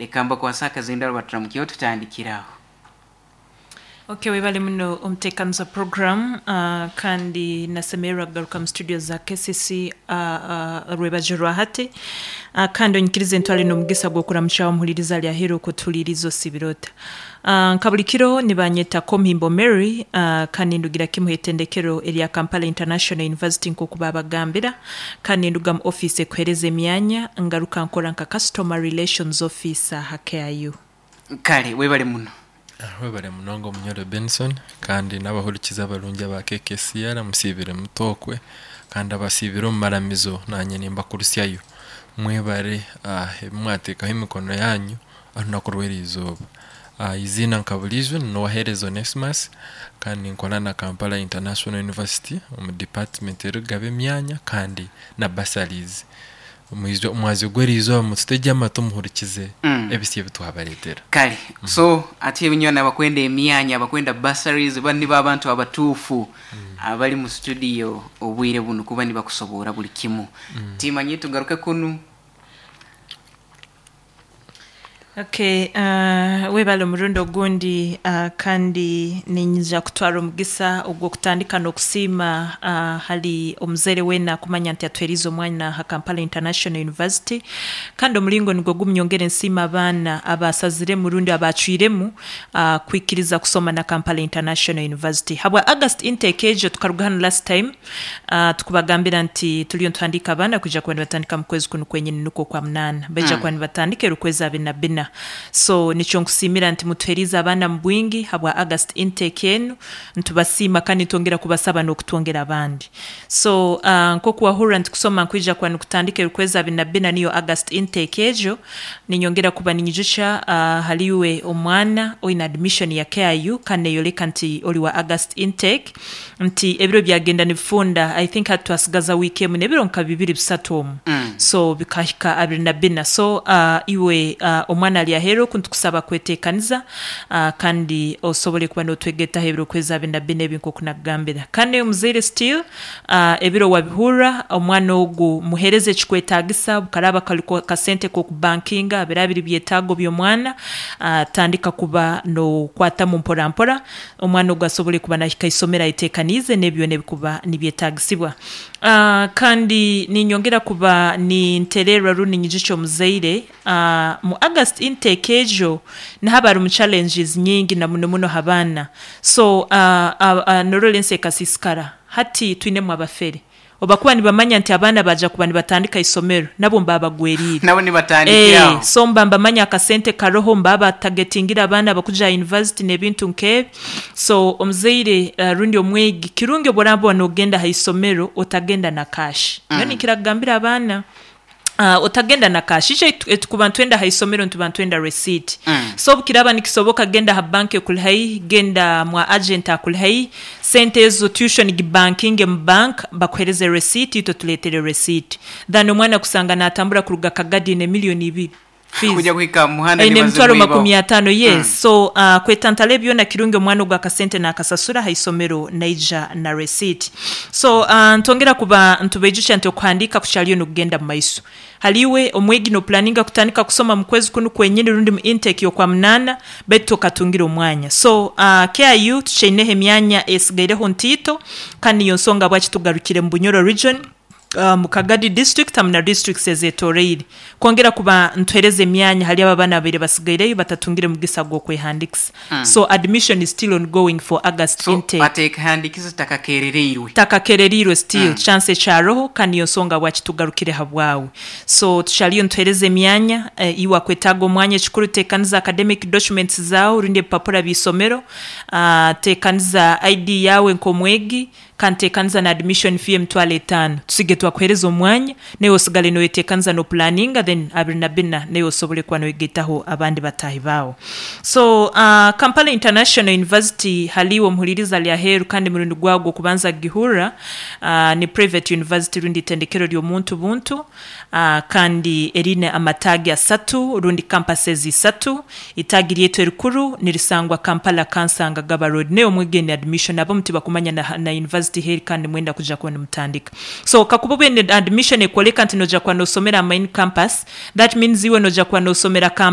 Leka mbakwase akazindaro baturamukyeho tutandikire aho. Ok webale muno omutekaniza program kandi nasemererwa kugaruka mu studio za KCC rwebagyo rwa hati kandi onyikirize ntware n'omugisa gw'okuramukya omuhuririza ari aheeru okutuhuririza osiibire ota. Nka buri kiro nibanyeta Komuhimbo Mary kandi nindugira kimwe aha itendekero erya Kampala International University nk'oku baabagambira kandi ninduga mu ofiisi ekuheereza emyanya ngaruka nkora nka Customer Relations Officer aha KIU. Kare webale muno. Webale munonga Omunyoro Benson kandi n'abahurikiza abarungi aba KKCR musiibire muta okwe kandi abasiibire omu maramizo nanye nimbakurusyayo. Mwebare ebi mwateekaho emikono yaanyu orunaku rw'erizooba. Eiziina nka buriijo ni Nuwahereza Onesmus kandi ninkora na Kampala International University omu department erikugaba emyanya kandi na bursaries. Omwazyo gw'erizooba mututegye amatu muhurikize ebisya ebi twabareetera. Kare so ati ebinywana abakwenda emyanya abakwenda bursaries banu nibo abantu abatuufu abari mu studio obwire bunu kuba nibakusoboora buri kimu. Timanye tugaruke kunu. Okay, webale omurundi ogundi kandi niinyija kutwara omugisa ogw'okutandika n'okusiima hali omuzaire weena kumanya nti atuheriize omwana ha Kampala International University kandi omuringo nigwo gumu nyongere nsiime abaana abaasaziremu rundi abaacwiremu kwikiriza kusoma na Kampala International University. Habwa August intake egyo tukaruga hanu last time Tukubagambira nti turiyo nituhandiika abaana kwija kuba nibatandika mu kwezi kunu kwenyini nukwo okwa munaana. Baija kuba nibatandika eri okwezi abiri na bina. So nikyo nkusiimira nti mutuheriize abaana mu bwingi habwa August intake enu. Nitubasiima kandi nitwongera kubasaba n'okutwongera abandi. So nk'oku wahurra nti kusoma nkwija kuba nikutandika eri okwezi abiri na bina niyo August intake egyo, ninyongera kuba ninyijukya hali iwe omwana oine admission ya KIU kandi neyoleka nti ori wa August intake, Nti ebiro byagenda nibifunda, I think hati twasigaza wiiki emu n'ebiro nka bibiri bisatu omu. So bikahika 24. So iwe omwana ari aheeru oku nitukusaba kweteekaniza kandi osobole kuba nootwegetaho ebiro kwezi 24 ebi nk'oku nakugambira. Kandi naiwe omuzaire still ebiro wabihurra, omwana ogu muheereze ekikwetaagisa, obu karaaba kari kasente k'okubankinga, biraba biri byetaago by'omwana, tandika kuba nookwatamu mpora mpora. Omwana ogu asobole kuba nahika isomero ayetekaniize n'ebi byona ebikuba nibyetagisibwa. Kandi ninyongera kuba nintererra rundi ninyijukya omuzaire, mu August intake egyo nihaba harimu challenges nyingi na muno muno ha baana. So norora ensi ekasiisikara, hati twinemu abafere. Obu bakuba nibamanya nti abaana baaja kuba nibatandika isomero, nabo nibaba bagweriire. Nabo nibatandikira aho. So mba mbamanya akasente karoho, nibaba batagetingire abaana abakuja aha yunivasite n'ebintu nk'ebi. So omuzaire rundi omwegi, kirungi obu oraba noogenda aha isomero otagenda na kaashi. Nyowe ninkira kugambira abaana. Otagenda na cash. Itwe etukuba nitwenda aha isomero nituba nitwenda receipt. So obukiraaba nikisoboka genda aha bank ekuri haihi, genda mwa agent akuri haihi, sente ezo tuition gibankinge mu bank bakuhereze receipt itwe otureetere receipt. Than omwana kusanga natambura kuruga Kagadi aine million ibiri fees. Kuja kuhika aha muhanda Aine emitwaro nibazimwibaho. 50 yes. So kwetantara ebi byona kirungi omwana ogu akasente nakasasura aha isomero naija na receipt. So ntwongera kuba nitubaijukya nti okuhandiika kukyariyo nikugenda mu maiso. Hali iwe omwegi nopulaninga kutandika kusoma mu kwezi kunu kwenyini rundi mu intake y'Okwamunaana baitu tokatungire omwanya. So KIU tukyaineho emyanya esigaireho ntiito kandi niyo nsonga habwaki tugarukire mu Bunyoro region. Mu Kagadi District hamu na districts ezetoroire kwongera kuba nituhereza emyanya hali abo abaana ababaire basigaireyo batatungire mugisa gw'okwehandikisa. So admission is still ongoing for August So intake. atekehandikize takakerereirwe. Takakerereirwe still, chance ekyaroho kandi niyo nsonga habwaki tugarukire habwawe. So tukyariyo nituhereza emyanya, iwe akwetaaga omwanya ekikuru tekaniza academic documents zaawe rundi ebipapura by'eisomero, tekaniza ID yaawe nk'omwegi, Kandi teekaniza na admission fee 50,000 tusige twakuhereza omwanya naiwe osigale noyeteekaniza no pulaninga then 24 naiwe osobole kuba noyegaitaho abandi bataahi baawe. So Kampala International University hali iwe omuhuririza ali aheeru kandi murundi gwawe gw'okubanza kugihurra ni private university rundi itendekero ry'omuntu buntu Kandi eriine amataagi asatu rundi campuses isatu. Itaagi ryaitu erikuru nirisangwa Kampala Kansanga Gaba Road. Nayo omwegeni admission abamu tibakumanya na na university heri kandi nimwenda kuja kuba nimutandika. So kakuba obe ne admission ekwoleka nti noja kuba nosomera aha main campus, that means iwe noja kuba nosomera Kampala.